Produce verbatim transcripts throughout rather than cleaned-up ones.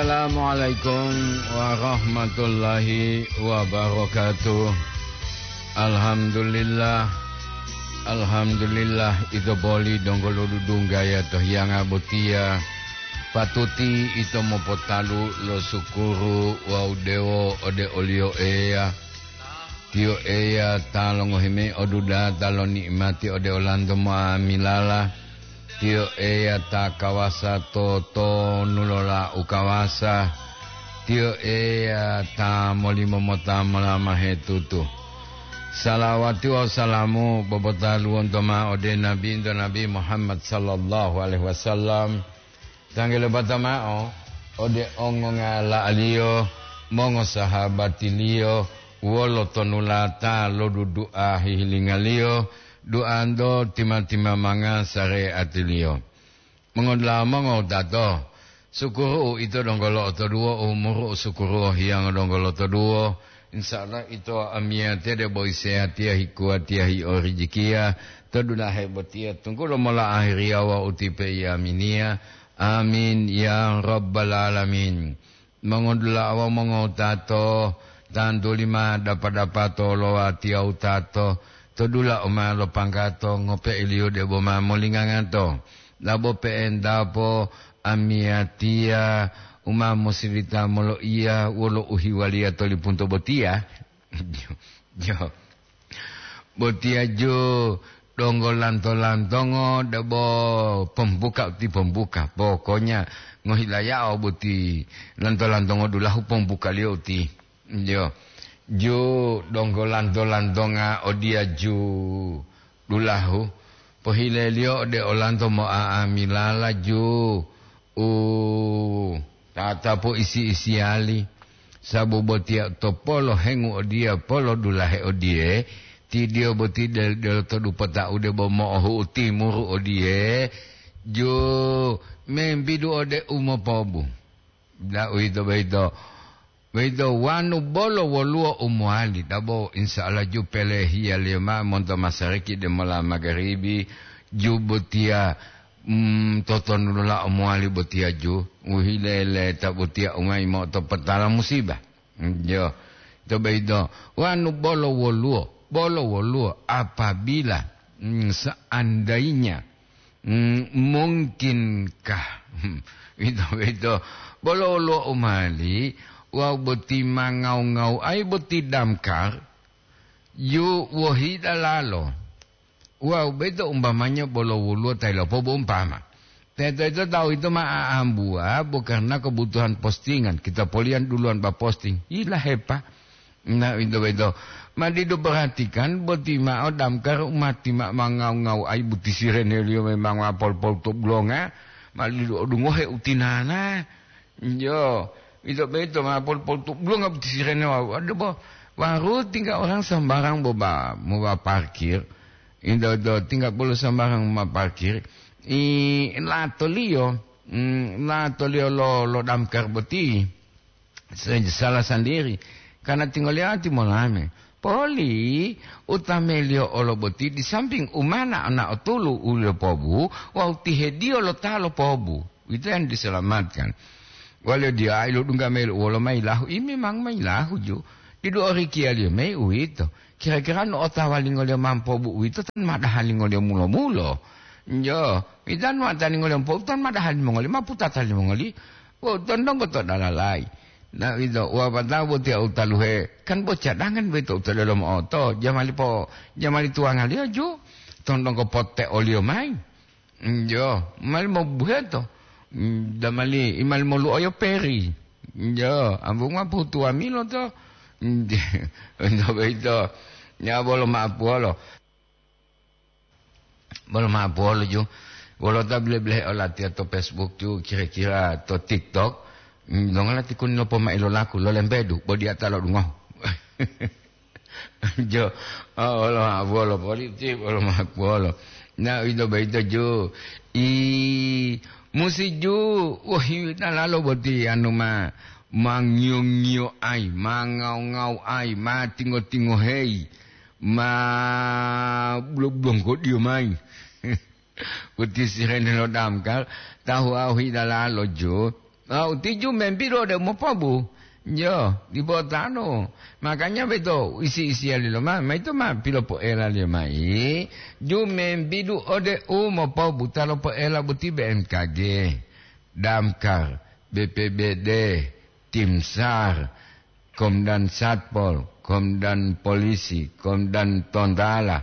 Assalamualaikum warahmatullahi wabarakatuh. Alhamdulillah. Alhamdulillah, ito boli donggo lo dudunggaya to hiyanga botiya. Patuti ito mopotalu lo sukuru wawu dewo ode oliyo Eya. Tiyo Eya ta longohi mayi odudata lo ni'imati ode olanto mo'amilala. Tiyo Eya ta kawasa to tonu lo la u kawasa. Tiyo Eya ta molimo mota molamahe tutu. Salawati wawu salamu popotaluwonto ma'o ode Nabinto Nabi Muhammad sallallahu alaihi wasallam. Tanggelopata ma'o ode ongongala'aliyo, mongosahabatiliyo, wolo tonulata lo dudu'a hihilingaliyo, duanto tima-timamanga sareatiliyo. Mongodula'a mongowutato, sukuru uito donggo lo'otoduwo, umuru u sukuru hiyango donggo lotoduwo. Insya Allah ito amiyatiya debo isehatiya hikuwatiya hiyo rijikiya to dulahe botiya, tunggulo mola ahiriya wawu utipe iyaminiya. Amin ya rabbal alamin. Mongodula'a wawu mongowutato, tantuli ma dapa-dapato lo watiya wutato, to dula u ma lopanggato ngope'eliyo debo ma molingangato. Labo pe'entapo amiyatiya u ma mosilita moloiya wolo uhiwaliya to lipunto botiya. Jo. Botiya ju donggo lanto-lantongo debo pembuka uti pembuka. Pokoknya ngohilayao boti lanto-lantongo dulahu pembukaliyo uti. Jo. Ju donggo lanto-lantonga odiya ju dulahu. Pohileliyo ode olanto mo'a'amilala ju u tatapu isi-isiyali, sabu botiya to polo hengu odiya polo dulahe odiye, tidiyo boti del-, deloto dupota'u debo mo'ohu'u timuru odiye, ju membidu ode umopobu. Da uwito boyito, boyito wanu bolo woluwo u mowali, dabo insya Allah ju pelehiyaliyo ma'o monto masariki demola magaribi, ju botiya, mm, totonulolao mowali botiya ju, uhileleta botiya ungayi mo'otopotala musiba. Jo, to boyito, wanu bolo woluwo, bolo woluwo, apabila, mm, seandainya, mm, mungkinkah, ito, ito, bolo woluwo u mali, wawu boti ma ngau-ngau ai boti damkar, yu wohi dalalo. Wawu boyito umpamanya bolo woluwo ta yilopobu umpama. Teto-teto tawu yito ma aambuwa bo karna kebutuhan postingan, kita poliyan duluwan ba posting. Yilahepa. Nah, ito boyito. Ma didu perhatikan boti ma'o damkar umati ma, ma ngau-ngau ai buti sireneliyo memang ma pol-pol to bulonga, ma didu odungohe utinana. Jo, ito boyito ma pol-pol to bulonga buti sirene wawu. Aduh, bo, waru tinggal orang sembarang bo ba, mo ba parkir. Ito, ito tinggal bolo sembarang ma parkir. I, latoliyo, mm, latoliyo lo, lo damkar boti. Se-, salah sendiri. Karena tinggal lihat molame. Poli, utameliyo olo boti di samping umana ana otulu uliyo pobu, wawu tihediyo lo ta lo pobu. Uwito yang diselamatkan. Waliyo diya ilodungga mayi wolo mayi lahu, i memang mayi lahu ju. Didu orikiyaliyo mayi uwito. Kira-kira no otawa lingoliyo mampobu uwito tan ma daha lingoliyo mulo-mulo. Jo, idan wata lingoliyo mampobu tan ma daha limongoli, ma putata limongoli. Wo, tondonggo to dalalai. Na uwito, wapatao botiya u taluhe, kan bo cadangan boyito u to delomo oto, jamali po, jamali tuwangaliyo ju, tondonggo potte oliyo mayi. Jo, mali mobuheto. Mm, damali, imali moluoyo peri. Jo, ambunga putuwa milo to. Ento boyito, ya bolo ma'apuwolo. Bolo ma'apuwolo ju. Wolo ta bile-bilehe olatiya to Facebook ju, kira-kira to TikTok. Mm, dongala tikuni lopo mailolaku, lolembedu, bo diya ta lodungohu. Jo, oh, wolo ma'apuwolo, politi, wolo ma'apuwolo. Na, uwito boyito ju. I, musi ju, wohi dalalo boti anu ma, ma ngiyo-ngiyo ai, ma ngau-ngau ai, ma tingo-tingohei, ma bulo-bulongkodiyo mayi. Boti sirene lo damkar, tahu ahu hidalalo jo, Ah, uti ju membidu ode umopobu. Yo, dipo tanu. Makanya beto isi-isiya lilo ma, ma ito ma pilopoela liyo mai. Ju membidu ode umopobu, ta lopoela boti B M K G, Damkar, B P B D, Tim SAR, Komdan Satpol, Komdan Polisi, Komdan Tontala,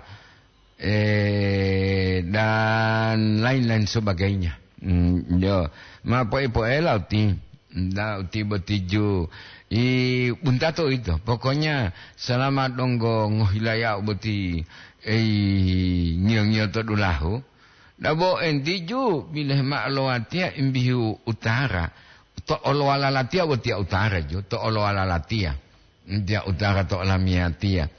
eh, dan lain-lain sebagainya. Hmm, yo, ma poe-poela uti, nda uti boti ju, i buntato ito. Pokoknya selama donggo ngohilayao boti, ei, ngiyo-ngiyo to dulahu, dabo enti ju bileh ma'o lowatiya imbihu utara, to olowala latiya botiya utara ju, to olowala latiya. Ntiya utara to olamiyatiya.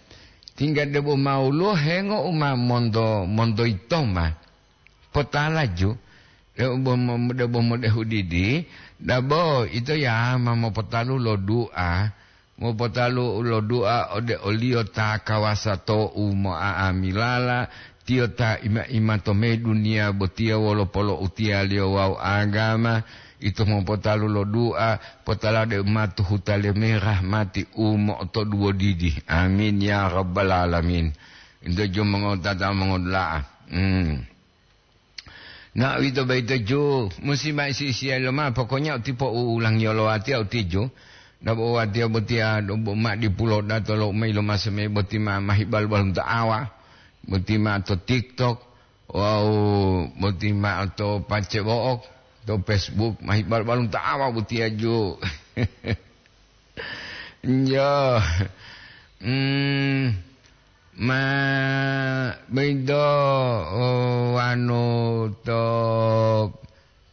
Tingga debo mawuluwo hengo u ma monto, monto yitoma. Potala ju, debo mo-, debo modehu didi, dabo ito yama mopotalu lo du'a, mopotalu lo du'a ode oliyo ta kawasa to'u mo'a'amilala, tiyo ta ima-ima to me duniya botiya wolo polo'utiyaliyo wawu agama, ito mopotalu lo du'a, potala de u ma to huta le me rahmati u mo'otoduwo didi. Amin ya rabbal alamin. Ito ju mongotata mongodula'a. Hmm. Na uwito boyito ju, musi ma isi-isiya loma, pokoknya uti po ulangiyo lo watiya uti ju. Dabo watiya botiya, do bo ma dipulo dato lo mayi lo maseme boti ma, mahi bal-balunto awa. Boti ma to TikTok, wawu boti ma to pacebo'ok, to Facebook, mahi bal-balunto awa botiya ju. Njo. Hmm, ma boyito, oh, wanu to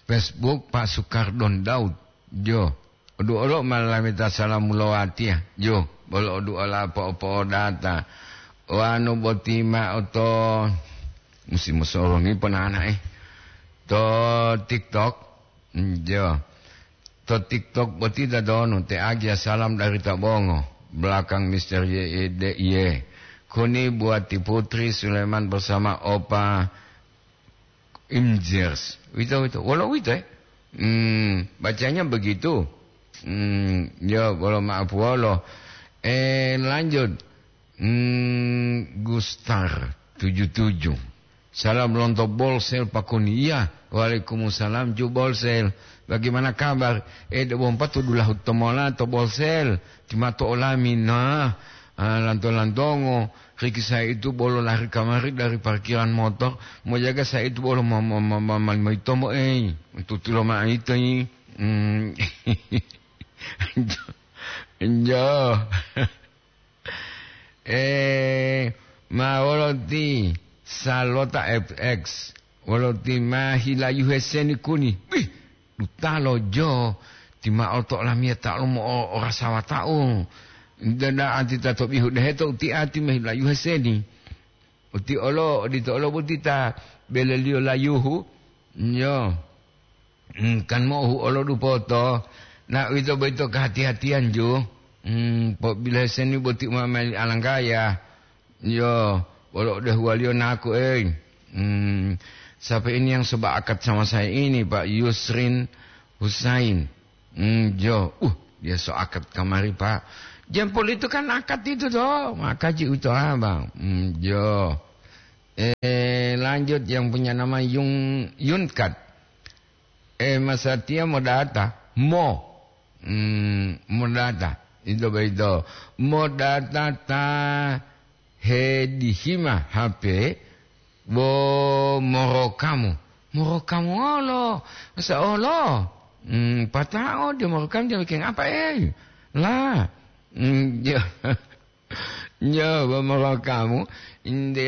Facebook Pak Sukardon Daud. Jo. Odu olo ma lameta salamu lo watiya. Jo. Bolo odu ola po'o-po'odata. Wanu boti ma'o to, musi mosoroni ponana'e. To TikTok. Jo. To TikTok boti tadonu, te agia salam dari Tabongo, belakang Mister Y E D I E. Kuni buat ti Putri Sulaiman bersama Opa Imjers. Wito, wito. Wolo wito, eh? Hmm, bacanya begitu. Hmm, yo, bolo maaf wolo. Eh, lanjut. Hmm, Gustar tujuh tujuh. Salam lonto Bolsel Pakuni. Iya, waalaikumsalam ju Bolsel. Bagaimana kabar? Eh, debo mpatu dulahu tomola to Bolsel. Timato olami, nah, ah, lanto-lantongo. Riki saya itu bolo lari kamari dari parkiran motor. Mau jaga saya itu bolo ma-, ma-, ma-, ma-, ma-, maitomo, eh. Tutulo ma ito, eh. Hmm. Jo. Eh, ma wolo ti Salota F X, wolo ti ma hilayuhe seni kuni. Wih, dutalo jo, ti ma oto olamiya ta lomo o-, orasawata'u. Dada anti ta to bihu deheto uti ati ma hilayuhe seni. Uti olo, odito olo boti ta beleliyo layuhu. Nyo. Hmm, kan mo'ohu olo dupoto, na uwito boyito kahati-hatiyan ju. Hmm, pobilohe seni boti umameli alanggaya. Yo, wolo odehuwaliyo naku, ey. Hmm, siapa ini yang sebaakat sama saya ini, Pak Yusrin Husain? Hmm, jo, uh, dia so akad kamari, Pak. Jempol itu kan akad itu, toh. Maka ji uto abang. Hmm, jo. Eh, lanjut yang punya nama Yung-, Yunkat. Eh, masatiya modata, mo. Hmm, modata. Ito boyito. Modata ta hedihima H P bo morokamu. Morokamu olo. Masa olo? Hmm, patao dia morokamu dia bikin apa, eh? La. Hmm, dia Nyo, bo morokamu, inde,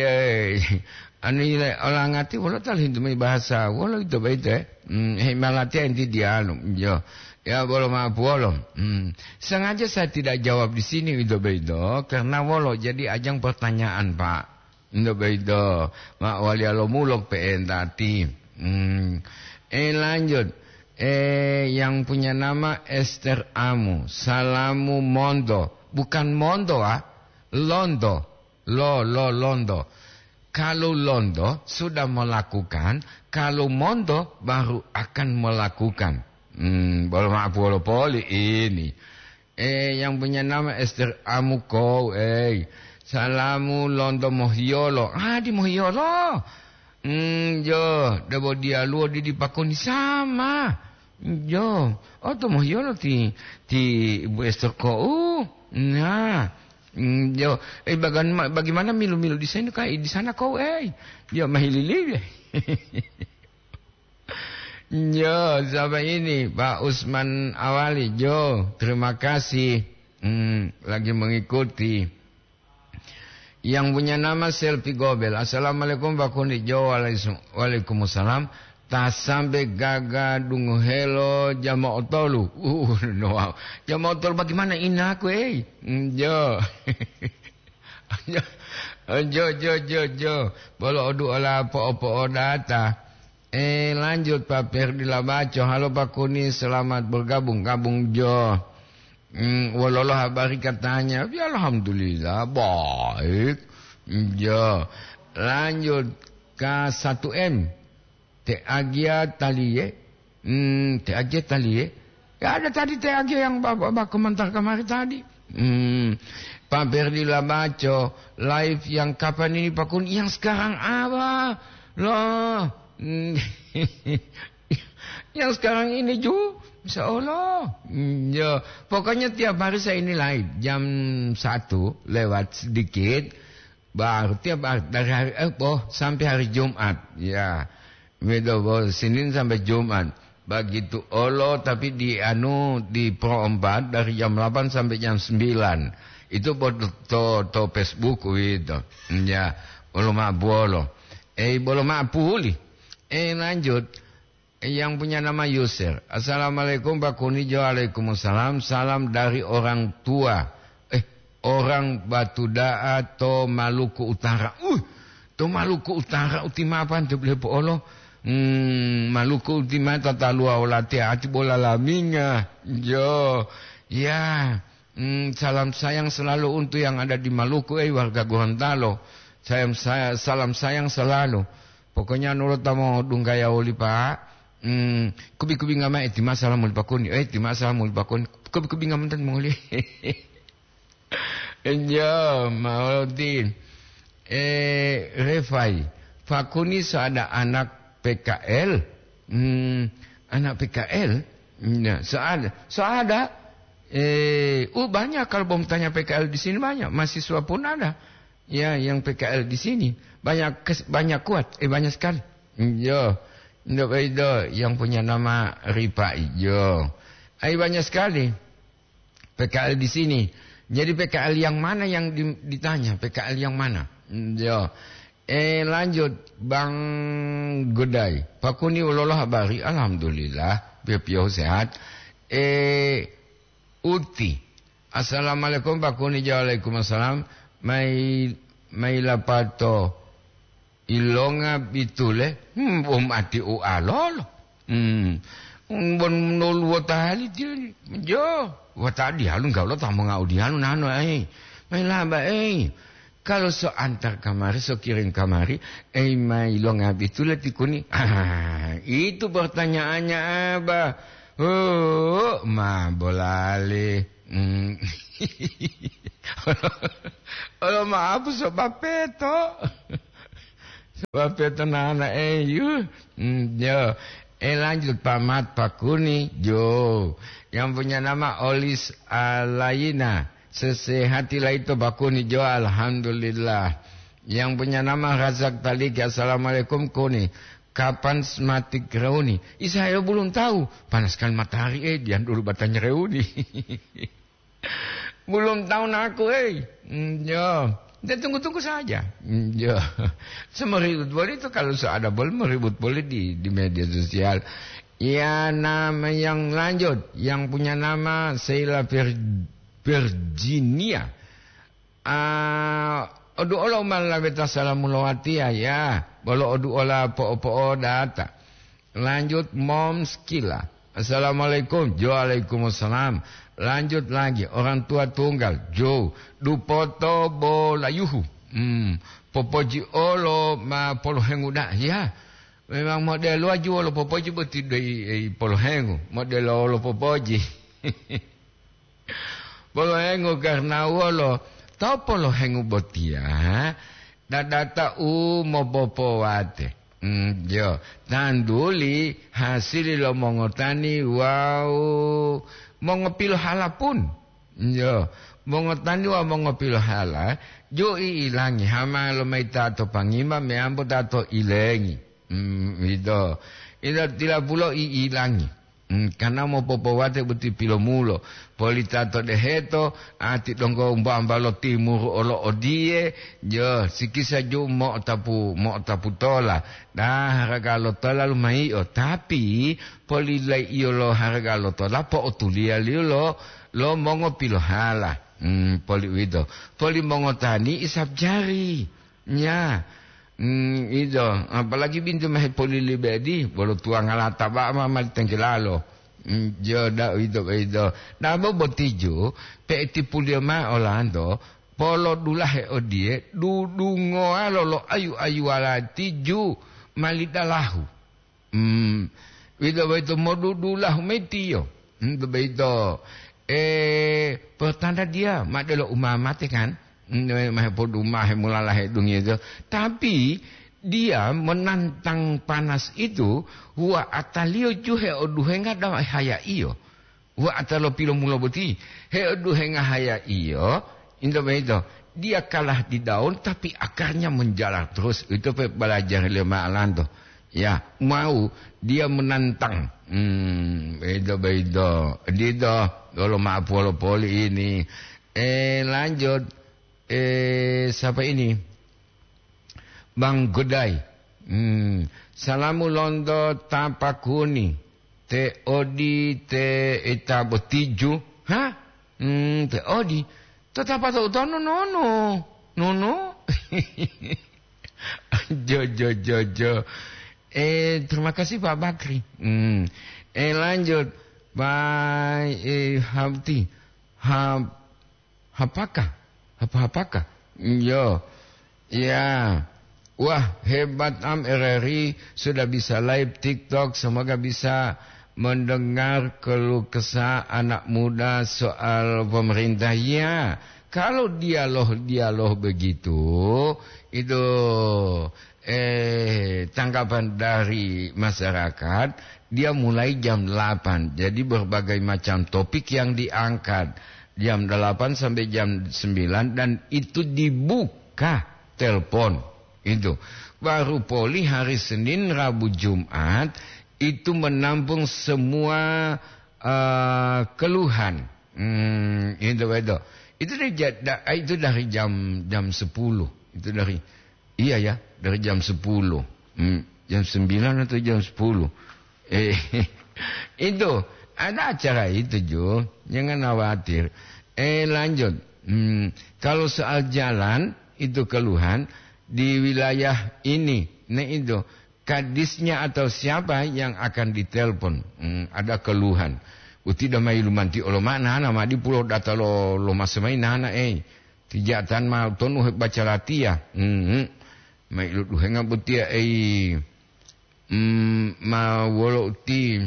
anu ile, olangati wolo ta lohintu mayi bahasa, wolo ito boyito, eh? Hmm, hei malatiya inti diyalu, nyo. Ya, bolo maaf wolo. Hmm, sengaja saya tidak jawab di sini ito boyito, karena wolo jadi ajang pertanyaan, Pak. Ito boyito, ma waliya lo mulok pe'enta ti. Hmm, eh, lanjut. Eh, yang punya nama Esther Amu, salamu monto. Bukan monto, ah. Lonto. Lo, lo, lonto. Kalau lonto sudah melakukan, kalau monto baru akan melakukan. Hmm, bolo ma'apu wolo poli ini. Eh, yang punya nama Ester Amukou, eh. Salamu lonto Mohiyolo. Ah, di Mohiyolo. Hmm, jo, debo dialuwo di dipakoni sama. Jo, oto Mohiyolo ti, ti Ibu Ester kou. Nah, hmm, jo, eh, bagan-, bagaimana milu-milu di sana, Kak? Di sana kou, eh. Jo, mahililiwe. Jo, siapa ini? Pak Usman Awali. Jo, terima kasih. Hmm, lagi mengikuti. Yang punya nama Selfie Gobel. "Assalamualaikum, Pak Kundi." Jo, waalaikum-, waalaikumsalam. "Ta sambe gaga dungohelo jama otolu." Uh, no, wow. Jama otolu bagaimana inaku, eh? Hmm, jo. Jo, jo, jo, jo. Bolo odu ola po'o-po'o data. Eh, lanjut, Pak Perdi Labaco. "Halo, Pak Kuni, selamat bergabung." Gabung, jo. Hmm, wololo habari katanya? Ya, alhamdulillah, baik. Jo. Lanjut, K satu M. Te Agia Talie. Hmm, Te Agia Talie. Ya, ada tadi Te Agia yang Bapak, Bapak komentar kemarin tadi. Hmm, Pak Perdi Labaco, live yang kapan ini, Pak Kun? Yang sekarang apa? Loh, hmm, yang sekarang ini ju, insya Allah. Hmm, ya, pokoknya tiap hari saya ini live jam satu lewat sedikit. Baru tiap hari, dari hari, eh, oh, sampai hari Jumat. Ya, begitu, oh, Senin sampai Jumat. Begitu olo, tapi di anu, di Pro empat dari jam delapan sampai jam sembilan. Itu buat to, to Facebook gitu. Ya, bolo ma'apu wolo. Eh, bolo ma'apu woli. Eh, lanjut. Yang punya nama Yusir. "Assalamualaikum, Pak Kunijo." "Waalaikumsalam. Salam dari orang tua. Eh, orang Batu Da'a to Maluku Utara." Uh, to Maluku Utara uti mapan to bele po'olo. Hmm, Maluku uti mata talua olate ati bola laminga. Jo. Ya. Hmm, salam sayang selalu untuk yang ada di Maluku, eh, warga Gorontalo. Sayang saya, salam sayang selalu. Pokoknya nurut tamo dunggaya oli, Pak. Hmm, kubi-kubi ngamai, eh, tima salam muli Pak Kuni. Eh, tima salam muli Pak Kuni. Kubi-kubi ngamantan muli. Ya, Mauludin. Eh, Refai. Pak Kuni so ada anak P K L. Hmm, anak P K L? Ya, so ada. So ada. Eh, oh, banyak kalau mau tanya P K L di sini banyak. Mahasiswa pun ada. Ya, yang P K L di sini. Banyak kes-, banyak kuat. Eh, banyak sekali. Yo, ndak baido yang punya nama Ripa Ijo. Ai, banyak sekali P K L di sini. Jadi P K L yang mana yang di-, ditanya? P K L yang mana? Yo. Eh, lanjut, Bang Godai. Pak Kuni, ulolo habari? Alhamdulillah, pio-pio sehat. Eh, Uti. Assalamualaikum, Pak Kuni. Waalaikumsalam. Mai, mai lapato ilonga bitule. Hmm, um ati ualolo. Hmm. Bon nolu wota hali tiyo. Jo, wota dihalu enggak lo tamu ngau dihalu nano, eh. Mai laba, eh. Kalau so antar kamari, so kirim kamari, ei, ma ilonga bitule ti Kuni? Ah, itu pertanyaannya, Abah. Oh, ma bolale. Hmm. Olo, maaf, so bapeto. So bapeto nana, eh, yu. Hmm, yo. Eh, lanjut, Pak Mat, Pak Kuni, jo. Yang punya nama Olis Alaina. Sesehati laito Pak Kuni, jo, alhamdulillah. Yang punya nama Razak Taliki, "Assalamualaikum, Kuni. Kapan sematik reuni?" Ih, saya belum tahu. Panas kan matahari, eh, dian dulu batanya reuni. Belum tahu naku, eh. Hmm, yo. Dia tunggu-tunggu saja. Hmm, yo. Semeribut boleh itu kalau so ada boleh meribut boleh di, di media sosial. Ya, nama yang lanjut, yang punya nama Sheila Vir-, Virginia. Ah, odu'olo ma laweta salamu lo watiya, ya. Bolo odu'ola po'o-po'o data. Lanjut, Moms Kila. "Assalamualaikum." Jo, "Waalaikumsalam." Lanjut lagi, orang tua tunggal. Jo, "Dupoto bolayuhu." Hmm, popoji olo ma polohengu da. Ya. Memang modelo aju wolo popoji boti doi, ei, polohengu. Modelo wolo popoji. Polohengu karena wolo. Tawu polohengu botiya, dadata u mopopowate. Mm, jo, tanduli hasili lo mongotani wawu mongopilohala pun. Jo, mongotani wawu mongopilohala, jo i'ilangi hama lo mayi ta to pangima meyambo ta to ilengi. Mm, ito. Ito tilapulo i'ilangi. Mm, karena mopopowate boti pilomulo. Polita to deheto, ati donggo umba-umba lo timuru olo odiye, jo, sikisa ju mo'otapu, mo'otapu tola. Da haraga lo tola lumaiyo, tapi polilaiyo lo haraga lo tola, po'otuliyaliyo lo, lo mongopilohala. Mm, poli uwito. Poli mongotani isab jari. Nya, mm, ito, apalagi bintu ma hepolilibedi, bolo tuwanga lata ba'a ma mali tenggelalo. Mm, jo, da uwito boyito. Dabo botiju, pe'etipuliyo ma'o olanto, polodulahe odiye, dudungowa lolo ayu-ayuwala tiju mali dalahu. Hmm, uwito boyito modudulahu mayi tiyo. Hmm, to boyito, eh, pertanda dia ma delo umamate kan? Hmm, ma hepodumahe mulalahe dungiyo. Tapi dia menantang panas itu, wa ataliyo juhe oduhenga dawa haya iyo. Wa atalo pilomulo boti, heoduhenga haya iyo, into boyito, dia kalah di daun, tapi akarnya menjalar terus. Itu pe belajar lima alanto. Ya, mau dia menantang. Hmm, itu boyito. Dito, kalau maaf wolo poli ini. Eh, lanjut. Eh, siapa ini? Bang Godai. Hmm, salamu lonto tapakuni. Te odi te ita botiju. Ha? Hmm, te odi. To tapa to utono nono. Nono. Jo, jo, jo, jo. Eh, terima kasih Pak Bakri. Hmm. Eh, lanjut. Pak, eh, Habti. Hab-, Hapakah? Apa-apakah? Iyo. Ya. Wah, hebat am R R I sudah bisa live TikTok. Semoga bisa mendengar keluh kesah anak muda soal pemerintah. Ya, kalau dialog-dialog begitu, itu, eh, tanggapan dari masyarakat, dia mulai jam delapan. Jadi berbagai macam topik yang diangkat. Jam delapan sampai jam sembilan dan itu dibuka telepon. Itu. Baru poli hari Senin, Rabu, Jumat itu menampung semua, eh, keluhan. Hmm, itu, itu. Itu dari ja-, da-, itu dari jam, jam sepuluh. Itu dari, iya ya, dari jam sepuluh. Hmm, jam sembilan atau jam sepuluh. Eh, itu, ada acara itu, Jo. Jangan khawatir. Eh, lanjut. Hmm, kalau soal jalan, itu keluhan di wilayah ini. Nah, itu, kadisnya atau siapa yang akan ditelepon. Hmm, ada keluhan. Uti damai lumanti olo ma nana ma di pulo data lo, lo masemayi nana, eh. Tijatan ma tonu he baca latiya. Hmm, hmm. Mai lu duhenga botiya, eh. Hmm, ma wolo uti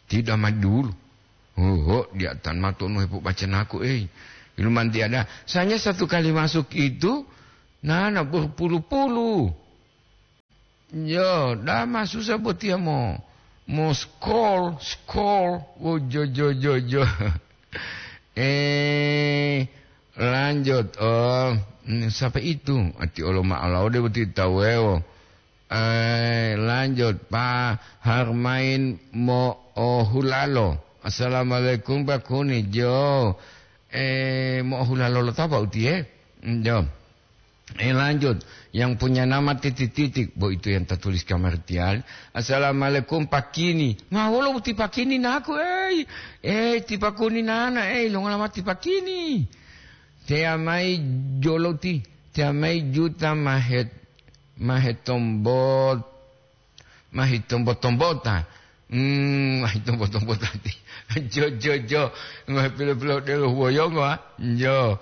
tidak ma dulu. Oho, dia tan ma tonu hepo baca naku, eh. Ilumanti ada. Sanya satu kali masuk itu, nana berpuluh-puluh. Yo, dama susah botiya mo, mo scroll, scroll. Oh, jo, jo, jo, jo. Eh, lanjut. Oh, hmm, siapa itu? Ati olo ma ala ode boti tawewo. Eh, lanjut, Pak Harmain Mo'ohulalo. Assalamualaikum, Pak Kuni. Jo. Eh, Mo'ohulalo lo tapa uti, eh? Hmm, jo. Eh, lanjut. Yang punya nama titik-titik, bo itu yang tertulis kamar tial. Assalamualaikum, Pak Kini. Ma wolo uti Pak Kini naku, eh? Eh, ti Pak Kuni nana, eh, lo ngalama ti Pak Kini. Te amai joloti, te amai juta mahet, mahetombot, mahitombo-tombota. Hmm, mahitombo-tombota ti. Jo, jo, jo. Mahepilo-pilo delo woyongo, ah. Jo.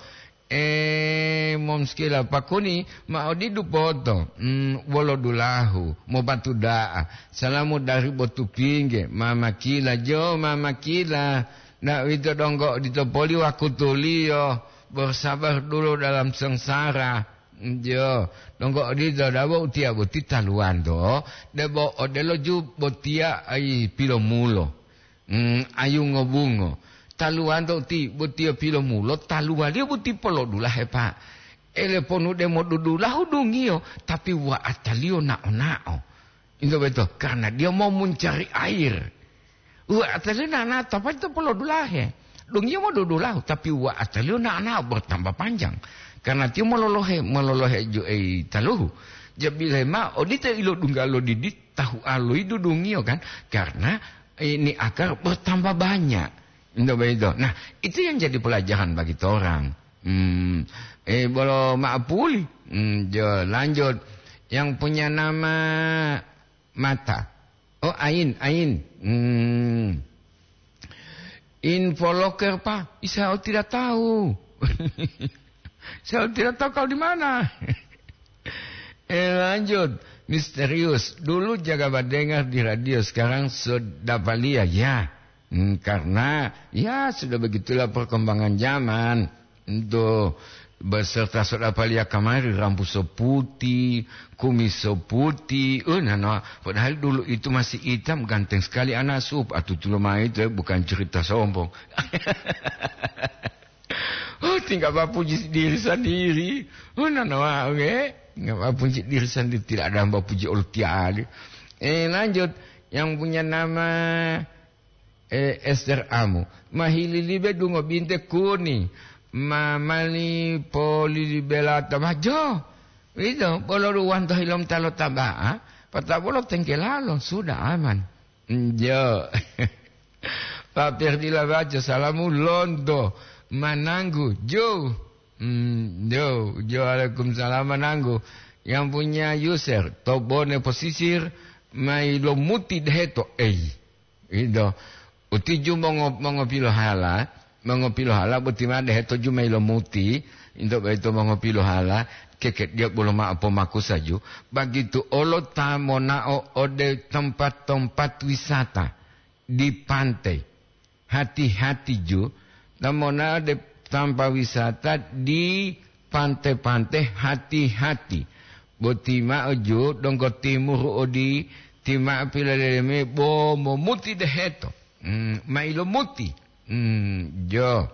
Eh, Momskila pakuni ma odidu poto, mm, wolo dulahu, mopatu da'a. Salamu dari Botupingge, Mama Kila, jo, Mama Kila. Nda uwito donggo odito poli wakutuliyo, bersabar dulu dalam sengsara. Jo, donggo odito dabo utiya boti taluwanto, debo odelo ju botiya ai pilomulo. Mm, ayu ngobungo. Taluwanto ti botiya pilomulo, taluwaliyo boti polodulahe, Pak. Ele ponu demo dudulahu dungiyo, tapi wa'ataliyo nao-nao. Into beto, karena dia mau mencari air. Wa'ataliyo nao-nao, tapi itu polodulahe. Dungiyo mau dudulahu, tapi wa'ataliyo nao-nao bertambah panjang. Karena tiyo mololohe, mololohe ju ei taluhu. Jabile ma, odito ilo dungga lo didi, tahu aloidu dungiyo kan? Karena ini akar bertambah banyak. Into begitu. Nah, itu yang jadi pelajaran bagi orang. Hmm, eh, bolo maapuli. Hmm, jo, lanjut. Yang punya nama mata. Oh, ain, ain. Hmm. Info loker, Pak. Saya tidak tahu. Saya tidak tahu kau di mana. Eh, lanjut. Misterius. Dulu jaga badengar di radio, sekarang sudah palia. Ya. Hmm, karena, ya, sudah begitulah perkembangan zaman. Itu beserta sudah palia kamari, rambu seputi, kumis seputi. Eh, nana, padahal dulu itu masih hitam, ganteng sekali anak sup. Atutu lo mai itu, eh, bukan cerita sombong. Oh, tinggal bapuji diri sendiri. Oh, nana, wah, oke. Nggak bapuji diri sendiri, tidak ada yang bapuji oltiali. Eh, lanjut. Yang punya nama, eh, Esther Amu. Mahililibe dungo binte kuni. Ma mali polilibela tamajo. Itu, bolo ruwanto hilom talo taba'a. Pata bolo tengkelalo, sudah aman. Jo. Pak Ferdila baca salamu lonto mananggu. Jo. Hmm, jo, jo, waalaikumsalam, mananggu. Yang punya user, Tobone Posisir, mai lo muti deheto. Ei, ido. Uti ju mongo-, mongopilohala, mongopilohala boti ma deheto ju mai lo muti, into boyito mongopilohala, keke dia bolo ma'o pomakusa ju. Bagitu olo ta monao ode tempat-tempat wisata di pantai. Hati-hati ju, ta monao de tampa wisata di pante-pante, hati-hati. Boti ma'o ju, donggo timuru odi, ti ma'o pilaleleme bo momuti deheto. Hmm, mailo muti. Hmm, jo.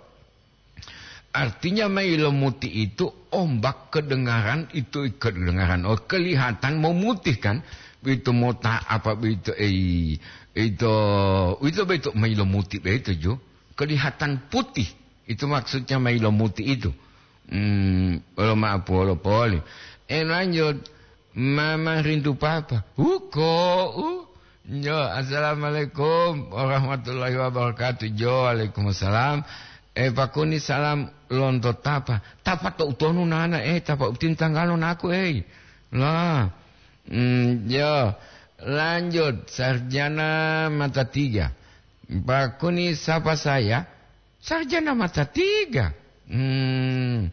Artinya mailo muti itu ombak kedengaran itu, kedengaran, oh, kelihatan memutih kan. Itu mota apa itu, eh, itu, itu betul mailo muti begitu ju. Kelihatan putih. Itu maksudnya mailo muti itu. Hmm, bolo maaf, bolo poli. Eh, lanjut. Mama rindu papa. Huko, uh. Jo, assalamualaikum warahmatullahi wabarakatuh. Jo, waalaikumsalam. Eh, pakuni salam lonto tapa. Tapa to utonu nana, eh, tapa utin tanggalo naku, eh. Lah. Hmm, jo. Lanjut, sarjana mata tiga. Pakuni sapa saya? Sarjana mata tiga. Hmm,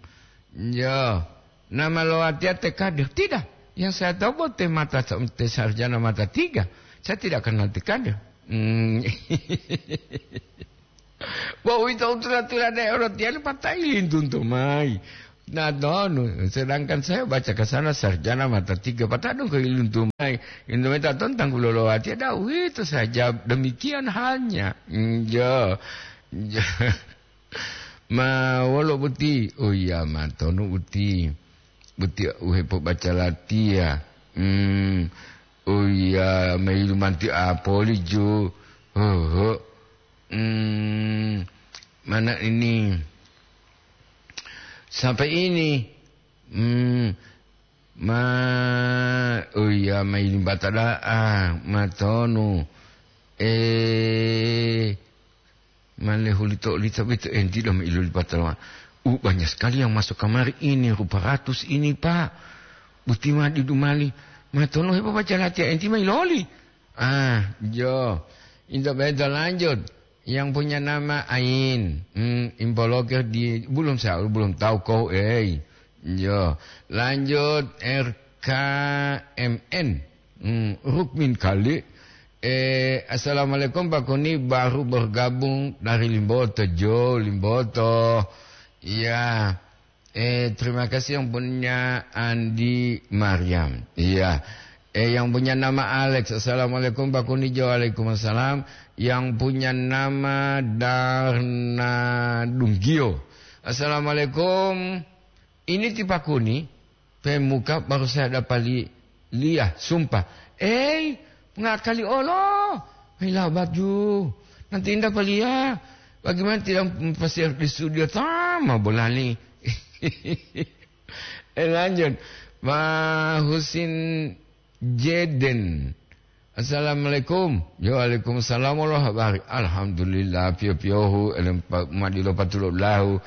ya. Nama lo watiya te kadir? Tidak. Yang saya tahu buat te mata, te sarjana mata tiga. Saya tidak kenal te kadir. Hmm. Bo uwito u tula-tulade orotiyalu patai lintunto mayi. Nah, tonu, sedangkan saya baca ke sana sarjana mata tiga, patadung ke iluntu mai. Indomie taton tanggulolo watiya, dah, uwito saja demikian halnya. Hmm, jo. Jo. Ma wolo boti? Oh iya, ma tonu boti. Boti uhepo baca latiya. Hmm. Oh iya, mailu manti apoli jo. Hoho. Hmm. Mana ini? Sampai ini. Hmm. Ma, oh iya, ma ini bata da'a, ma tonu. Eh, ma lehulito-lito beto enti do ma iluli patalawa. Uh, banyak sekali yang masuk kamari ini, rupa ratus ini, Pak. Buti ma di dumali. Ma tonu hepa baca latihan enti ma iloli. Ah, jo. Into beto lanjut. Yang punya nama Ain. Hmm, impo Kalau ke di, belum sa-, belum tahu kau, eh. Yo, lanjut R K M N. Hmm, Rukmin kali. Eh, assalamualaikum Pak Kuni, baru bergabung dari Limboto, Jo, Limboto. Iya. Eh, terima kasih yang punya Andi Mariam. Iya. Eh, yang punya nama Alex. Assalamualaikum Pak Kuni, Jo. Waalaikumsalam. Yang punya nama Darna Dunggio. Assalamualaikum. Ini ti Pak Kuni, pemuka baru saya dapat li-, liah, sumpah. Eh, ngakali olo. Hei, labat ju. Nanti indah palia. Bagaimana tidak pasir di studio tama bolani. Eh, lanjut. Ma Husin Jeden. Assalamualaikum. Yo, waalaikumsalam warahmatullahi wabarakatuh. Alhamdulillah, piyo-piyohu, elem pa-, madilo patulo lahu.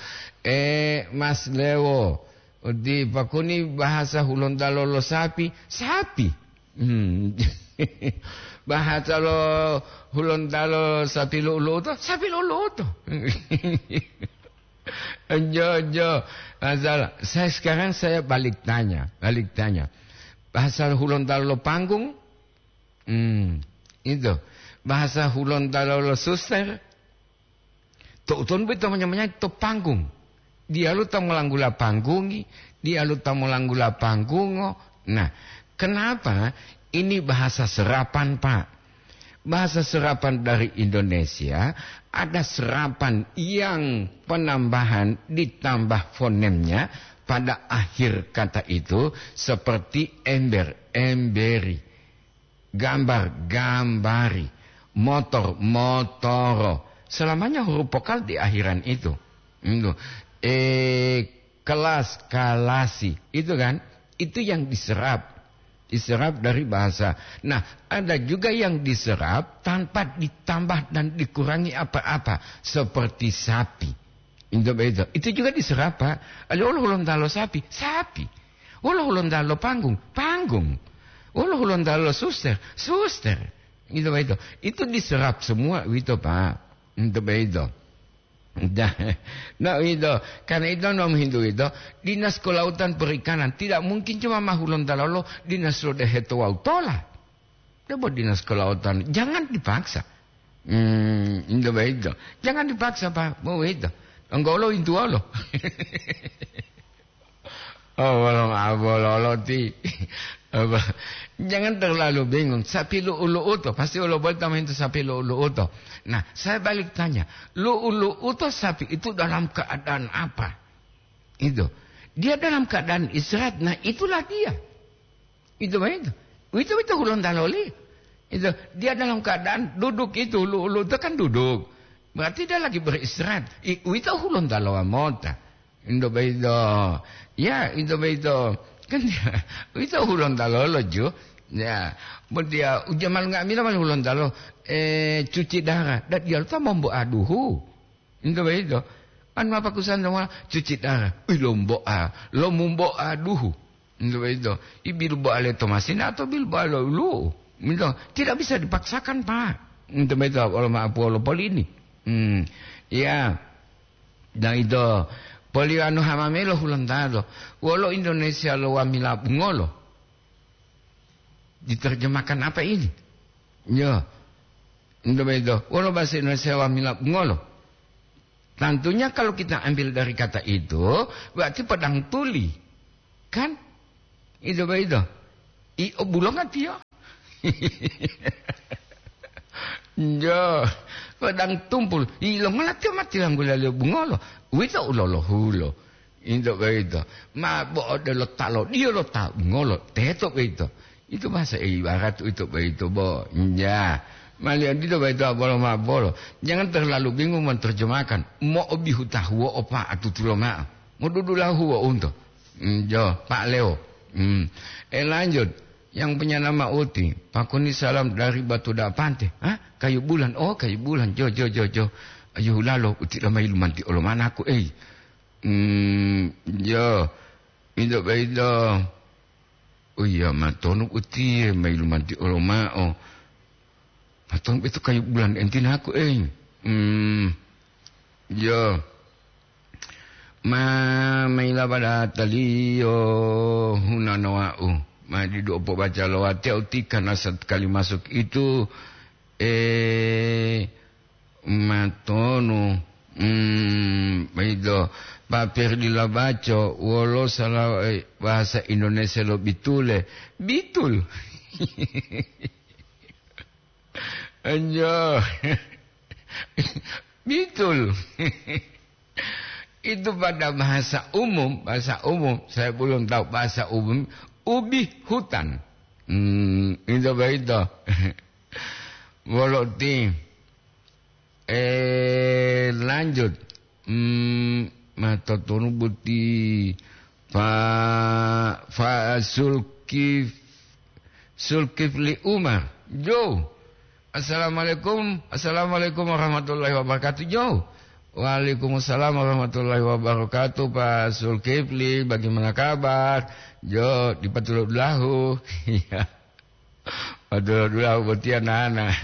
Eh, Mas Lewo, di Pakuni bahasa Hulontalo lo sapi, sapi. Hmm. Bahasa lo Hulontalo sapi lu'u-lu'u to, sapi lu'u-lu'u to. Jo, jo. Masalah, saya sekarang saya balik tanya, balik tanya. Bahasa Hulontalo lo panggung, hmm, itu. Bahasa Hulontalo lo suster, to uton boyito manya-manya to panggung. Diyalu ta molanggula panggungi, diyalu ta molanggula panggungo. Nah, kenapa ini bahasa serapan, Pak? Bahasa serapan dari Indonesia, ada serapan yang penambahan ditambah fonemnya pada akhir kata itu, seperti ember, emberi, gambar, gambari, motor, motoro. Selamanya huruf vokal di akhiran itu. Itu. Eh, kelas, kalasi. Itu kan? Itu yang diserap. Diserap dari bahasa. Nah, ada juga yang diserap tanpa ditambah dan dikurangi apa-apa, seperti sapi. Itu begitu. Itu juga diserap, Pak. Ada, "Wolo Hulontalo sapi?" Sapi. "Wolo Hulontalo panggung?" Panggung. "Wolo Hulontalo suster?" Suster. Itu begitu. Itu diserap semua itu, Pak. Itu begitu. Dah. Nah, itu. Karena itu, nom hintu itu, Dinas Kelautan Perikanan tidak mungkin cuma ma Hulontalo lo, Dinas Lodeheto wawu tola. Debo Dinas Kelautan, jangan dipaksa. Hmm, itu begitu. Jangan dipaksa, Pak. Mau itu. Enggak lo, itu lo. Oh, wolo mabololo ti. Apa? Jangan terlalu bingung. Sapi lu'u-lu'u to, pasti wolo boli tambahin to sapi lu'u-lu'u to. Nah, saya balik tanya, lu'u-lu'u to sapi itu dalam keadaan apa? Itu. Dia dalam keadaan istirahat. Nah, itulah dia. Itu begitu. Itu, itu Hulontalo li. Itu, dia dalam keadaan duduk itu, lu'u-lu'u itu kan duduk. Berarti dia lagi beristirahat. I-, itu Hulontalo mota. Indo begitu. Ya, indo begitu. Kan dia, itu Hulontalo lo ju. Ya, mo dia ujaman nga'amila mali Hulontalo, eh, cuci darah. Dan dia lupa mombo aduhu. Ento boyito, anu apa kusan to mola cuci darah? Ih, lombo'a, lomumbo'a duhu. Ento boyito, i bilbo'a le tomasina atau bilbo'a lo ulu'u? Ento, tidak bisa dipaksakan, Pak. Ento boyito, wolo ma'apuwo lo polini. Hmm, iya. Dan ito, poli anu hamamelo hulontalo. Wolo Indonesia lo wamila bungolo. Diterjemahkan apa ini? Yo. Ento boyito, wolo bahasa Indonesia wamila bungolo. Tentunya kalau kita ambil dari kata itu, berarti pedang tuli. Kan? Ito boyito. I obulonga tiyo. Yo, pedang tumpul. I longola tiyo mati langgula liyo bungolo. Uwito ulolohulo. Into boyito, ma bo odelo ta lodiyo lo ta ngolo teto boyito. Itu bahasa ibarat uwito boyito bo. Ya. Maliyo dito boyito bolo ma bolo. Jangan terlalu bingung menerjemahkan. Mo'obihu tahuwo opa atutulo ma'o. Modudula huwo unto. Hmm, jo, Pak Leo. Hmm. Eh, lanjut. Yang punya nama Uti. Pakuni salam dari Batu Dapante. Hah? Kayu Bulan. Oh, Kayu Bulan. Jo, jo, jo, jo. Ayu hulalo, Uti lamayi lumanti olo manaku, eh. Hmm, yo, ito boyito. Oh iya, matonu utiye mayilumanti olo ma'o. Matonu boyito Kayu Bulan entinaku, eh. Hmm, yo. Ma, maila pada taliyo hunanowa'u. Ma didu opo baca lo watiya utika nasat kali masuk itu, eh, matonu. Hmm, itu. Papir dila baco, wolo sala, eh, bahasa Indonesia lo bitule. Bitul. Anjo. Bitul. Itu pada bahasa umum, bahasa umum, saya belum tahu bahasa umum, ubi hutan. Hmm, itu begitu. Wolo ti. Eh, lanjut. Hmm, matotonu boti Fa, Fa Sulkif, Sulkifli Umar. Jo. Assalamualaikum. Assalamualaikum warahmatullahi wabarakatuh. Jo. Waalaikumsalam warahmatullahi wabarakatuh, Pak Sulkifli. Bagaimana kabar? Jo, dipatulodulahu. Iya. Waduh, dulahu botiya nana.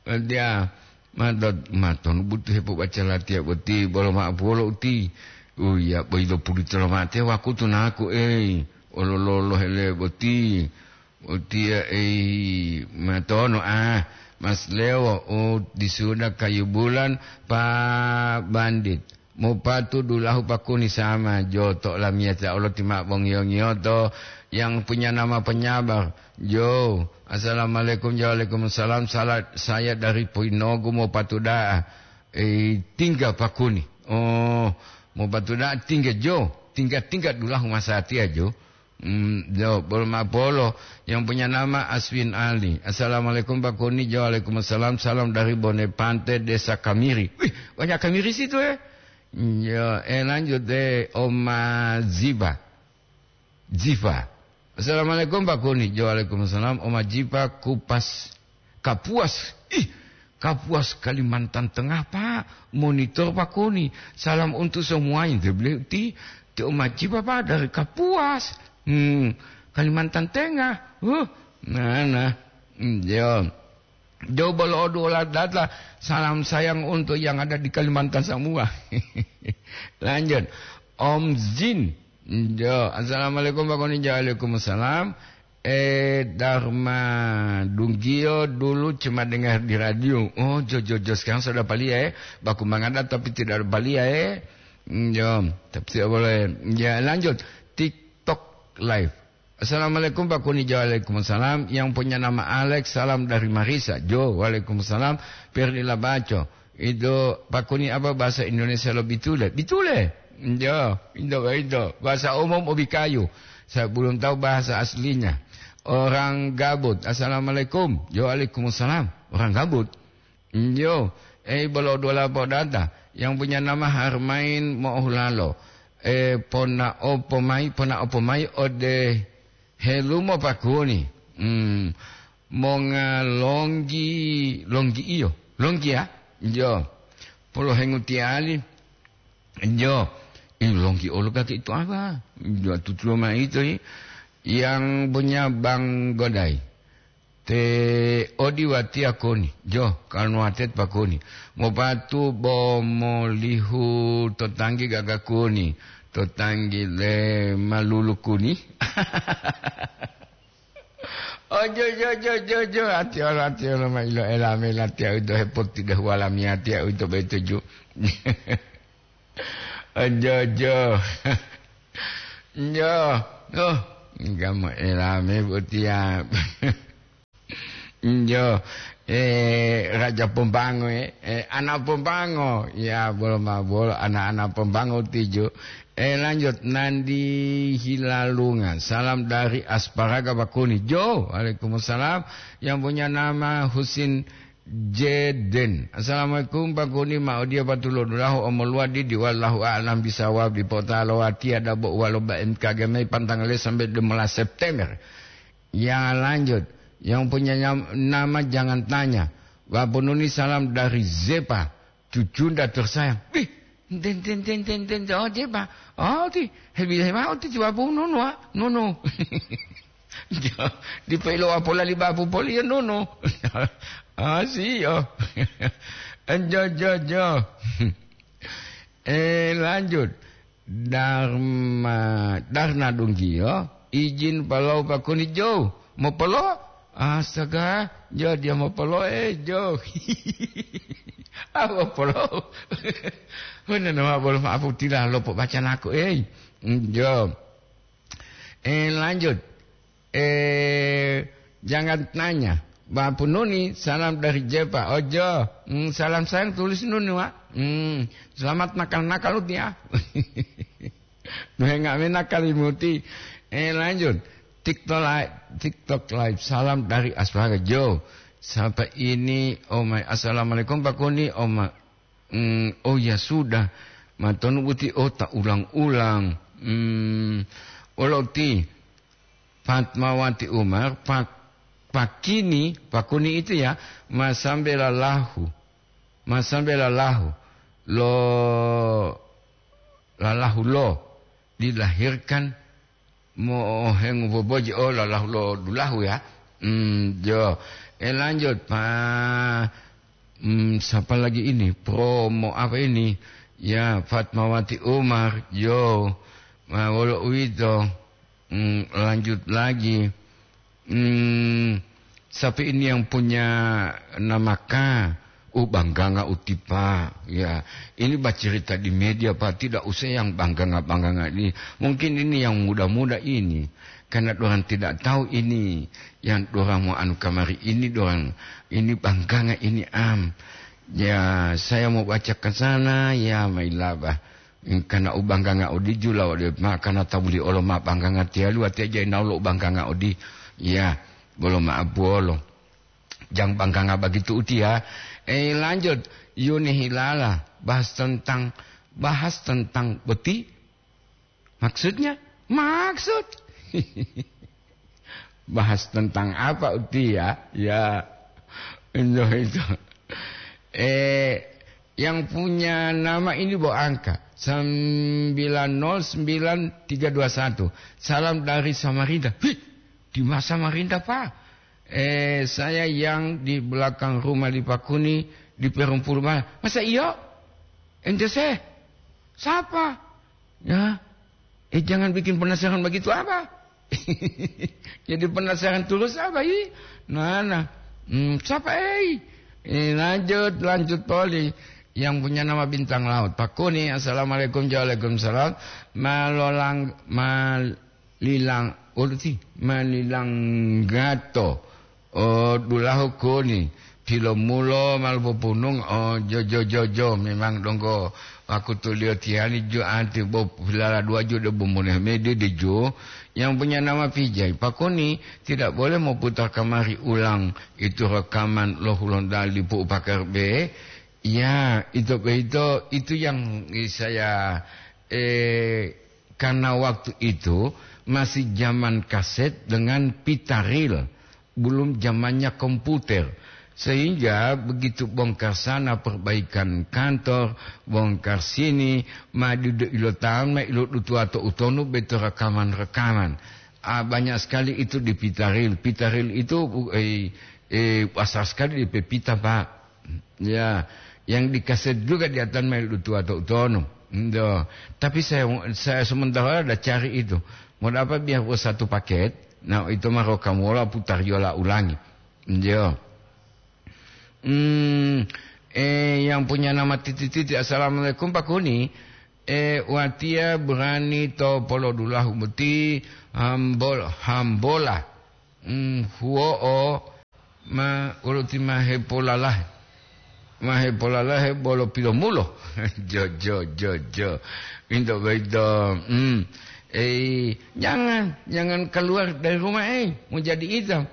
Botiya, matot-, matonu butu hepobaca latiya boti, bolo ma'o polo uti. Uya, boyito pulito lomatiya wakutu naku, ei. Olololo hele boti. Botiya, ei, matono, ah, Mas Lewo, oh, di suda kayu bulan, Pak Bandit. Mopatu dulahu pakuni sama, jo, to olamiyatiya olo ti ma'o bongiyo-ngiyoto yang punya nama penyabar. Jo, assalamualaikum, jo, waalaikumsalam, sala-, saya dari Poinogu mopatu da'a, eh, tingga pakuni. Oh, mopatu da'a tingga, jo, tingga-tingga dulahu masatiya, jo. Hmm, jo, bolo mapolo yang punya nama Aswin Ali. Assalamualaikum, Pak Kuni. Jo, waalaikumsalam. Salam dari Bonepante, Desa Kamiri. Wih, banyak Kamiri situ, eh. Jo, eh, lanjut, eh, Oma Ziba. Ziva. Assalamualaikum, Pak Kuni. Jo, waalaikumsalam. Oma Ziva, Kupas. Kapuas. Ih, Kapuas, Kalimantan Tengah, Pak. Monitor, Pak Kuni. Salam untuk semuanya. Dia bilang, ti, ti Oma Cipa, Pak, dari Kapuas. Hmm, Kalimantan Tengah. Huh, nah, nah. Hmm, yo. Jauh bolo odu ola data. Salam sayang untuk yang ada di Kalimantan semua. Lanjut. Om Zin. Jo, assalamualaikum, Pak Kuni. Jo, waalaikumsalam. Eh, Dharma Dunggio dulu cuma dengar di radio. Oh, jo, jo, jo, sekarang sudah palia, eh. Baku mangada tapi tidak ada palia, eh. Mm, jo, tapi tidak boleh. Ya, lanjut. TikTok live. Assalamualaikum, Pak Kuni. Jo, waalaikumsalam. Yang punya nama Alex, salam dari Marisa. Jo, waalaikumsalam. Perdi Labaco. Itu, Pak Kuni, apa bahasa Indonesia lo bitule? Bitule. Jo, itu, itu. Bahasa umum obi kayu. Saya belum tahu bahasa aslinya. Orang gabut. Assalamualaikum. Jo, waalaikumsalam. Orang gabut. Jo, eh, bolo dua lapo data. Yang punya nama Harmain Mo'ohulalo. Eh, pona opo mai, pona opo mai ode helumo Pak Kuni. Hmm. Monga longgi, longgi iyo. Longgi ya? Jo. Polo hengutiyali. Jo. Ih, longgi olo kaki itu apa? Jo, tutulo ma itu, i. Yang punya Bang Godai. Te odi watiya koni. Jo, kalnuwatet pakoni. Mopatu bo molihu to tanggi gaga koni. To tanggi le malulu kuni. Ojo, jo, jo, jo, jo, ati olo, ati olo, ma ilo elame latiya uwito hepoti dahu walamiya tiya uwito betuju. Ojo, jo. Jo. Oh, enggak mau elame botiya. Jo. Eh, Raja Pombango, eh. Eh, anak Pombango. Ya, bolo ma bolo, anak-anak Pombango tijo. Eh, lanjut, Nandi Hilalunga. Salam dari Asparaga Bakuni. Jo, waalaikumsalam. Yang punya nama Husin Jeden. Assalamualaikum, Pak Kuni. Ma odiya patulodulahu omoluwadi di wallahu a'lam bisawab di pota lo watiya dabo walo B M K G mai pantangale sampai lima belas September. Ya, lanjut. Yang punya nyam-, nama jangan tanya. Wapununi salam dari Zepa. Cucunda tersayang. Wih, ten, ten, ten, ten, ten, oh, dia, Pak. Oh, ti, hebi, hebi, oh, ti, coba pun, nono, ah, nono. Jo, di pelo apola li bapu poli, ya, nono. Ah, si, yo. Jo, jo, jo. Eh, lanjut. Darma, darna dunggiyo, ijin palou pakuni jou. Mopolo? Astaga, jo dia mopolo, eh, jo. Ah, mopolo. Huna nama bolo maapu tila lopo baca naku, eh. Jo. Eh, lanjut. Eh, jangan tanya. Bapu Nuni, salam dari Jepa. Ojo, hmm, salam sayang tulis Nuni, Wak. Hmm, selamat nakal-nakal uti ya. Duhe nggak mena kali muti. Eh, lanjut. TikTok live, TikTok live. Salam dari Aswaga Jo. Siapa ini? Oh my, assalamualaikum Pak Kuni. Oh my, hmm, oh ya sudah. Matonu buti, oh, tak ulang-ulang. Hmm, olo ti. Fatmawati Umar, Pak, Pakini, Pakuni itu ya, masambe lalahu. Masambe lalahu. Lo, lalahu lo. Dilahirkan mohengu boboji, oh, lalahu lo dulahu ya. Hmm, jo. Eh, lanjut, Pak. Hmm, siapa lagi ini? Promo apa ini? Ya, Fatmawati Umar, jo. Ma, wolo uwito. Hmm, lanjut lagi. Hmm, siapa ini yang punya nama K? Oh, bangganga uti, Pak. Ya, ini bacerita di media, Pak. Tidak usah yang bangganga-bangganga ini. Mungkin ini yang muda-muda ini. Karena dorang tidak tahu ini. Yang dorang mau anu kamari ini, dorang ini bangganga ini, am. Ya, saya mau baca ke sana, ya, mailabah. Kana u bangganga odi jula ode ma kana tabuli olo ma bangganga tiyalu, watiya jai naulo u bangganga odi. Ya, bolo ma apuolo. Jang bangganga bagitu utiya. Eh, lanjut. Yuni Hilala, bahas tentang, bahas tentang boti. Maksudnya? Maksud. Bahas tentang apa utiya? Ya, itu, itu. Eh, yang punya nama ini bawa angka sembilan nol sembilan tiga dua satu. Salam dari Samarinda. Hih, di mana Samarinda, Pak? Eh, saya yang di belakang rumah di Pakuni, di Perumpul Barat. Masa iyo? Ente se? Siapa? Ya, eh, jangan bikin penasaran begitu, apa? Jadi penasaran terus, apa, i? Nah, nah. Hmm, siapa, eh? Eh, lanjut, lanjut, Poli. Yang punya nama Bintang Laut. Pak Kuni, assalamualaikum, waalaikumsalam. Malolang, malilang, uluti, malilang gato. Oh, dulahu koni, pilomulo malu popunung, oh, jo, jo, jo, jo, memang donggo wakutuliyo tiyali ju ati bo pilala dua ju de bumune mede de ju, yang punya nama Vijay. Pakoni tidak boleh memutar kamari ulang itu rekaman lo Hulondali Pu Pakar B. Ya, itu, itu, itu yang saya, eh, karena waktu itu masih zaman kaset dengan pita ril, belum zamannya komputer. Sehingga begitu bongkar sana perbaikan kantor, bongkar sini, ma didu ilotaon ma ilodutuwa to utonu beto rekaman-rekaman. Ah, banyak sekali itu di pita ril. Pita ril itu, eh, eh, besar sekali di pepita, Pak. Ya, yang di kaset juga di atan mail dutuwa to utonu. Ndo. Tapi saya, saya sementara ada cari itu. Mau dapat biar satu paket, nah, itu mah rokamuola putar yola ulangi. Ndio. Hmm, eh, yang punya nama titik-titik, "Assalamualaikum, Pak Kuni." Eh, watia berani to polodulahu boti hambol-, hambola. Hmm, huo'o ma, woluti ma hepolalahe. Ma hepolalahe bolo pilomulo. Jo, jo, jo, jo. Into boyito. Hmm. Eh, jangan, jangan keluar dari rumah, eh. Mau jadi hitam.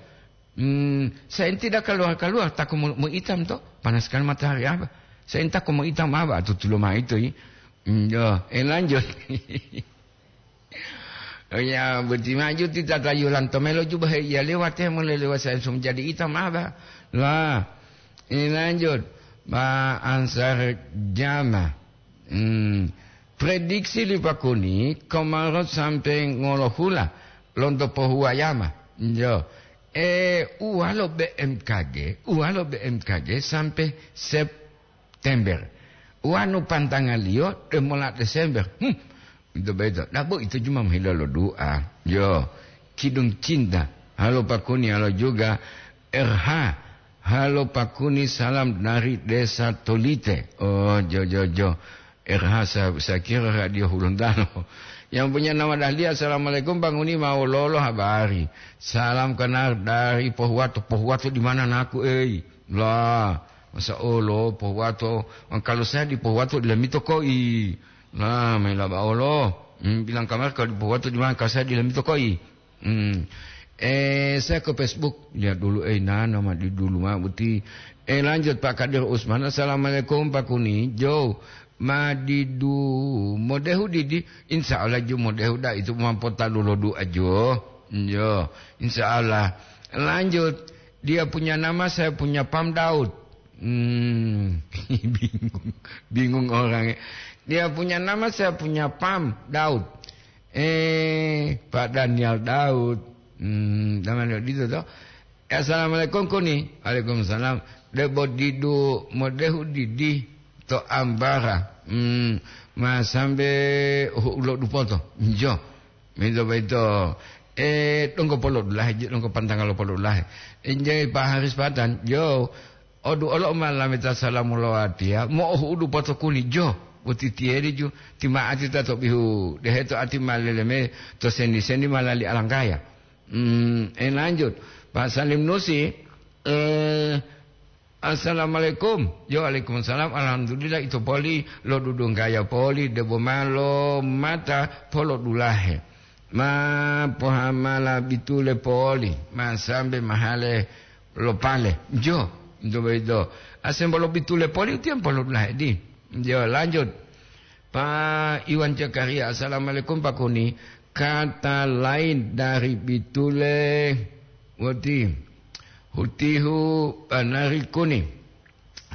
Hmm, saya tidak keluar-keluar, takut mau, mau hitam toh. Panas sekali matahari apa. Saya takut mau hitam apa, atau tulo ma itu, i. Hmm, yo, eh, lanjut. Oh ya, boti maju ti tatayulan tomelo juba he iya lewat he mulai lewat saya sum jadi hitam apa. Lah, ini lanjut. Pak Ansar Jama. Hmm. Prediksi li Pakuni, komarot sampai ngolohula, lonto pohuwayama. Yo. Eh, uwalo B M K G, uwalo B M K G sampai September. Wanu pantangaliyo, demola Desember. Hmm. Itu beto. Dabo itu cuma menghina lo doa. Yo, Kidung Cinta. Halo Pakuni, halo juga R H. Halo Pakuni, salam dari Desa Tolite. Oh, jo, jo, jo. R H, saya, saya kira Radio Hulontalo. Yang punya nama Dahlia, "Assalamualaikum, Bang Uni, mau lolo habari. Salam kenal dari Pohuwato." Pohuwato di mana, naku, ei? Lah, masa olo Pohuwato? Kalau saya di Pohuwato, di Lamito koi. Nah, maila ba olo. Hmm, bilang kamar kalau di Pohuwato di mana, kalau saya di Lamito koi. Hmm. Eh, saya ke Facebook. Lihat dulu, eh, nana ma di dulu ma buti. Eh, lanjut, Pak Kadir Usman. "Assalamualaikum, Pak Kuni. Jo, ma didu modehu didi?" Insya Allah, jo, modehu da itu mampu talu lo doa, jo. Yo, insya Allah. Lanjut, dia punya nama, saya punya pam Daud. Hmm, bingung, bingung orang, ya. Dia punya nama, saya punya pam Daud. Eh, Pak Daniel Daud. Hmm, namanya gitu toh. "Assalamualaikum, Kuni." "Waalaikumsalam." "Debo didu modehu didi to ambara. Hmm, ma sambe hu-, ulo dupoto." Jo. Mito boyito, eh, donggo polo dulahe, jo, donggo pantanga lo polo dulahe. Injai Pak Haris Patan, jo, odu olo ma lameta salamu lo watiya, mo'ohu'udu potokuni, jo, boti tiyedi ju, tima'ati ta to bihu, deheto ati ma leleme to sendi-sendi ma lali alanggaya. Hmm, eh, lanjut. Pak Salim Nusi, eh, "Assalamualaikum." "Yo, waalaikumsalam. Alhamdulillah, ito poli lodudunggaya poli, debo ma lomata polodulahe. Ma pohamala bitule poli, ma sambe mahale lopale." Jo, ito boyito. Asembo lo bitule poli, utiyan polodulahe di. Jo, lanjut. Pak Iwan Zakaria, "Assalamualaikum, Pak Kuni. Kata lain dari bitule woti hutihu banari kuni."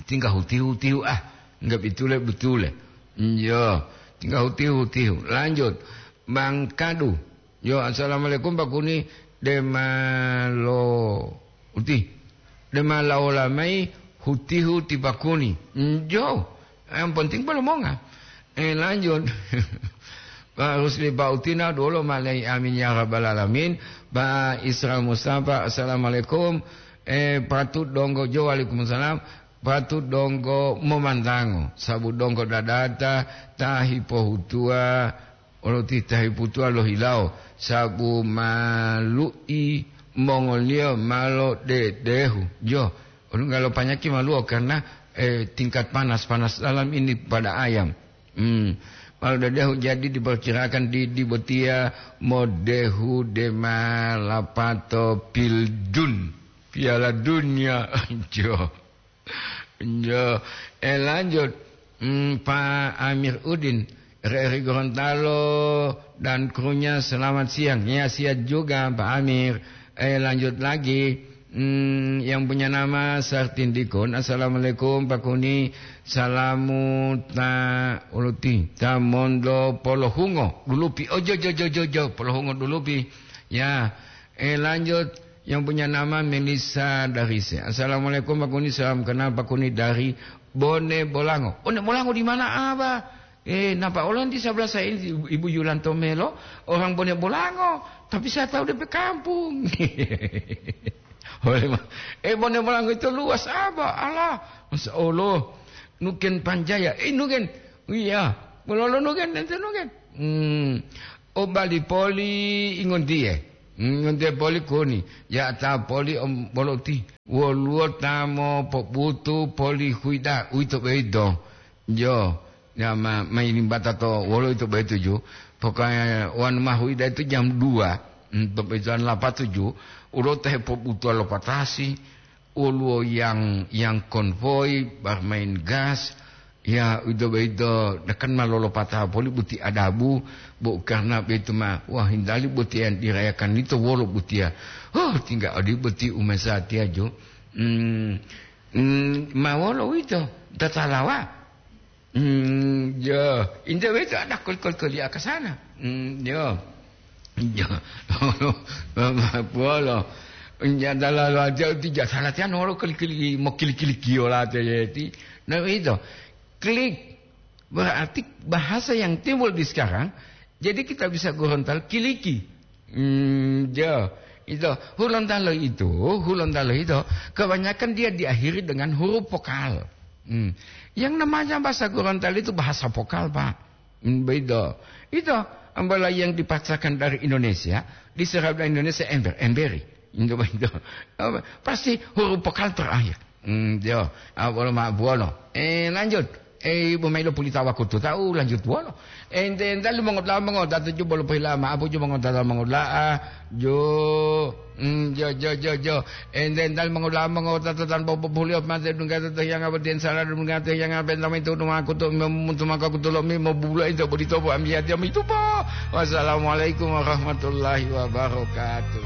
Tingga hutihu-hutihu, ah, enggak bitule-bitule. Iyo, tingga hutihu-hutihu. Lanjut. Bang Kadu. Yo, "Assalamualaikum, Pak Kuni." Demalo uti. Demalaola mai hutihu ti Pak Kuni. Njo. Yang penting polomonga. Eh, lanjut. Pak Rusli, Pak Utina, dulu malai, amin ya rabbal alamin. Pak Isra Mustafa, "Assalamualaikum." Eh, patut donggo jo, "Waalaikumsalam." Patut donggo momantango, sabu donggo dadata ta hipohutuwa, olo ti ta hipohutuwa lohilawo, sabu malu'i mongoliyo ma lodedehu. Jo, olunggalo panyaki maluwo karena, eh, tingkat panas, panas dalam ini pada ayam. Hmm. Ma lodedehu, jadi diperkirakan di, di botiya modehu dema lapato pildun Piala Dunia. Jo. Yo, eh, lanjut. Hmm, Pak Amir Udin, R R I Gorontalo dan krunya, selamat siang. Ya, siap juga, Pak Amir. Eh, lanjut lagi. Hmm, yang punya nama Sartindikun. "Assalamualaikum, Pak Kuni. Salamu ta uluti, ta mondo polohungo dulupi." Oh, jo, jo, jo, jo, jo. Polohungo dulupi. Ya, eh, lanjut. Yang punya nama Melissa Darise. "Assalamualaikum, Pak Kuni. Salam kenal, Pak Kuni, dari Bone Bolango." Bone Bolango di mana, Abah? Eh, nampak orang di sebelah saya ini, Ibu Yulanto Melo, orang Bone Bolango. Tapi saya tahu D P kampung. Oleh ma-, eh, Bone Bolango itu luas, Abah. Allah, Masya Allah. Nuken Panjaya. Eh, nuken. Iya. Melolo nuken, ente nuken. Hmm. O bali poli ingontiye. Ingontiye poli koni. Ya ta poli om boloti. Woluwo ta mopobutu poli huida. Uwito boyito. Jo. Ya ma-, mailimbata to wolo ito boyito ju. Pokoknya wanu ma huida itu jam dua. Hmm, to boyito an lapatuju. Ulo te hepobutuwa lo patasi. Woluwo yang, yang konvoi, barmain gas, ya, uwito boyito, dakan ma lolopata poli buti adabu, bo karna boyito ma, wah, hindali boti yang dirayakan ito wolo botiya. Oh, tingga odi boti umesatiya jo. Hmm, hmm, ma wolo uwito, tatalawa. Hmm, ya, inde weto ada kol-kol-kol ya ke sana. Hmm, ya. Ya. Puolo. Ya, dalam aja itu ya, salah tian orang klik-klik, mau klik-klik kiola aja ya, ti. Nah, itu. Klik. Berarti bahasa yang timbul di sekarang Jadi kita bisa Gorontalo kiliki. Hmm, ya. Itu, Hulontalo itu, Hulontalo itu, kebanyakan dia diakhiri dengan huruf vokal. Hmm. Yang namanya bahasa Gorontalo itu bahasa vokal, Pak. Hmm, beda. Itu, ambala yang dipaksakan dari Indonesia, diserap dari Indonesia ember, emberi. Itu, itu. Apa? Pasti huruf vokal terakhir. Hmm, yo, ah, bolo ma buolo. Eh, lanjut. Eh, ibu mailo pulita wakutu tahu lanjut buolo. Ente enta mongot la mongot tatu ju bolo pila ma apu ju mongot tata mongot la, ah, jo, hmm, jo, jo, jo, jo. Ente enta mongot la mongot tata tan bobo bulio mate dunga tata yang apa den salah dunga tata yang apa enta itu rumah aku tu mem-, untuk maka aku tolong mi mau bulo itu bodi tobo ambiat jam itu po. Wassalamualaikum warahmatullahi wabarakatuh.